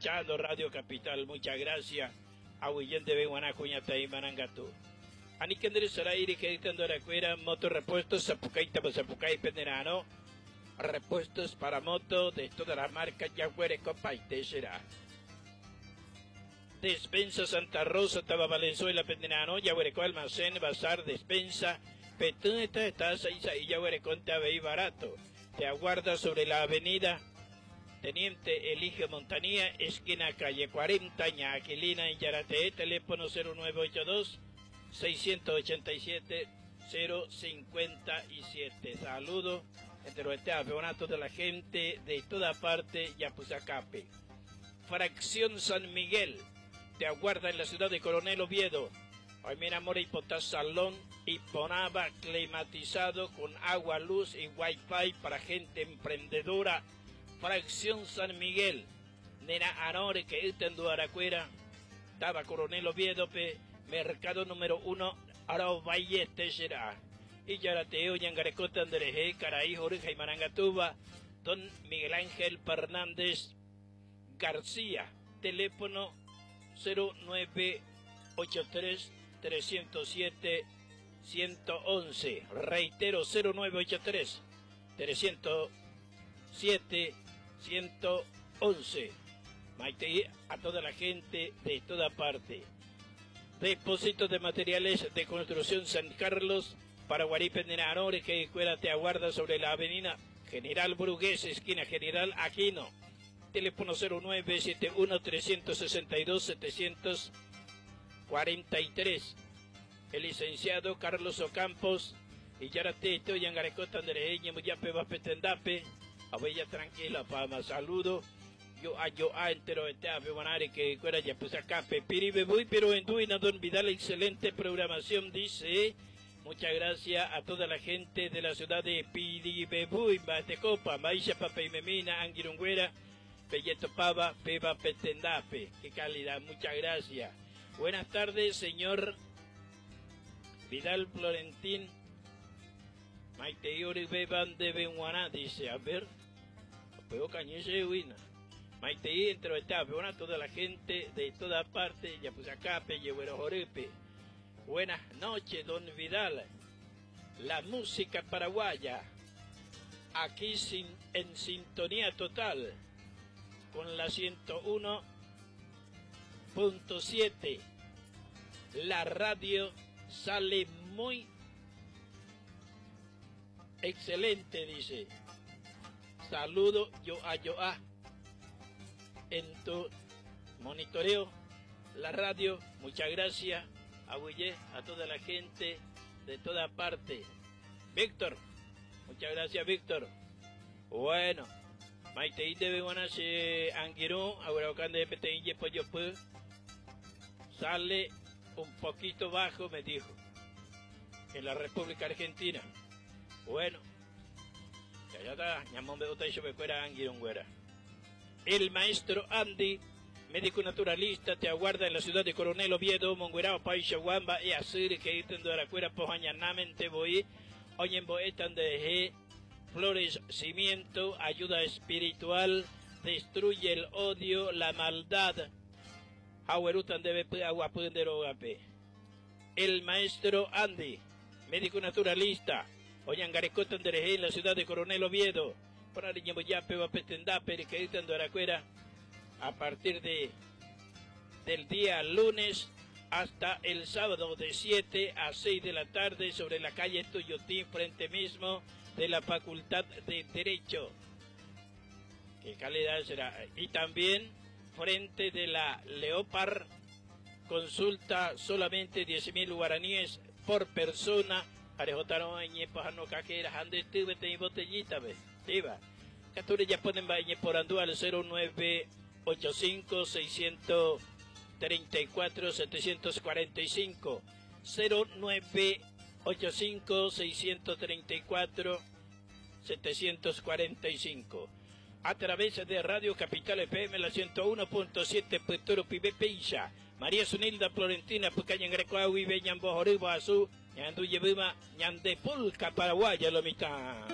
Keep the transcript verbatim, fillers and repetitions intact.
Escuchando Radio Capital, muchas gracias. Aguillente Beguaná, Cuñata y Marangatú. Anikendere Sarairi, que Aracuera, Moto Repuestos, Zapucay, Zapucay, Penderano. Repuestos para moto de todas las marcas, Yaguere, Copa y Será. Despensa Santa Rosa, Taba Valenzuela, Penderano, Yaguareco, Almacén, Bazar, Despensa, Petún, esta está, y Yaguareco, y barato. Te aguarda sobre la avenida Teniente Eligio Montanía, esquina calle cuarenta, Ñaquilina, en Yarate, teléfono cero nueve ocho dos, seiscientos ochenta y siete, cero cincuenta y siete. Saludo entre los de la gente de toda parte, Yapusacape. Fracción San Miguel, te aguarda en la ciudad de Coronel Oviedo. Hoy mira, Mora y Potás, salón y Ponaba climatizado con agua, luz y wifi para gente emprendedora. Fracción San Miguel, Nena Anore que está en Duaracuera, Taba Coronel Oviedo, pe, mercado número uno, Arauvalle será. Y Yarateo, Yangarecota, Andereje, Caraí, Jorge y Marangatuba, don Miguel Ángel Fernández García, teléfono cero nueve ocho tres, trescientos siete, ciento once. Reitero, cero nueve ocho tres, trescientos siete, ciento once. Maite, a toda la gente de toda parte. Depósito de materiales de construcción San Carlos, Paraguarí, Pendenanore, que escuela te aguarda sobre la avenida General Brugués, esquina General Aquino. Teléfono cero nueve siete uno, trescientos sesenta y dos, setecientos cuarenta y tres. El licenciado Carlos Ocampos y Yaratito y Angarecota Andreña, Muyape, Bapetendape. Abella tranquila, fama, saludo. Yo a yo a entero este ave bonare que cuera ya pues acá piribe voy pero en Duina don Vidal, excelente programación, dice. Muchas gracias a toda la gente de la ciudad de Piribebuy, Batecopa, Maisha Papeimemina, Anguirungüera, Pelleto Pava, Peba Petendape. Qué calidad, muchas gracias. Buenas tardes, señor Vidal Florentín. Maite Yuri Beban de Benguaná, dice, a ver, pero cañese huina. Maite entro etapa, bueno, toda la gente de toda parte, ya pues acá, Pellehuero Jorepe. Buenas noches, don Vidal. La música paraguaya, aquí sin, en sintonía total, con la ciento uno punto siete. La radio sale muy excelente, dice. Saludo yo a yo a. En tu monitoreo, la radio, muchas gracias. Abuye a toda la gente de toda parte. Víctor, muchas gracias, Víctor. Bueno, Maite de Beguanase Anguirú, Aguaraucán de P T I, Pollo Pu, sale un poquito bajo, me dijo, en la República Argentina. Bueno, ya ya está, ñamón de Otaisho Becuera Anguirungüera. El maestro Andy, médico naturalista, te aguarda en la ciudad de Coronel Oviedo, Monguerao, Paishaguamba, y Asir, que itendo Aracuera, Pojañanamen, Teboí, Oñemboetan de Flores, cimiento, ayuda espiritual, destruye el odio, la maldad. Jahuerutan debe aguapunderogape. El maestro Andy, médico naturalista, Oñangarecotan de en la ciudad de Coronel Oviedo, para Niñoyape, Bapetendape, que itendo Aracuera, a partir de, del día lunes hasta el sábado de siete a seis de la tarde sobre la calle Tuyotín, frente mismo de la Facultad de Derecho. Qué calidad será. Y también frente de la Leopard, consulta solamente diez mil guaraníes por persona. Arejotaron en Pajano Caquera, Ande Tubete y botellita, ve. Iba. Capture ya ponen bañe por Andúa al cero nueve ocho cinco, seiscientos treinta y cuatro, setecientos cuarenta y cinco. cero nueve ocho cinco, seiscientos treinta y cuatro, setecientos cuarenta y cinco. A través de Radio Capital F M, la ciento uno punto siete, Puerto Pibe Peisha. María Zunilda Florentina, Pucaña Grecoaui, Beñan Bojoribo, Azú, Ñandu Yebima, Ñandepulca, Paraguaya, lo mitad.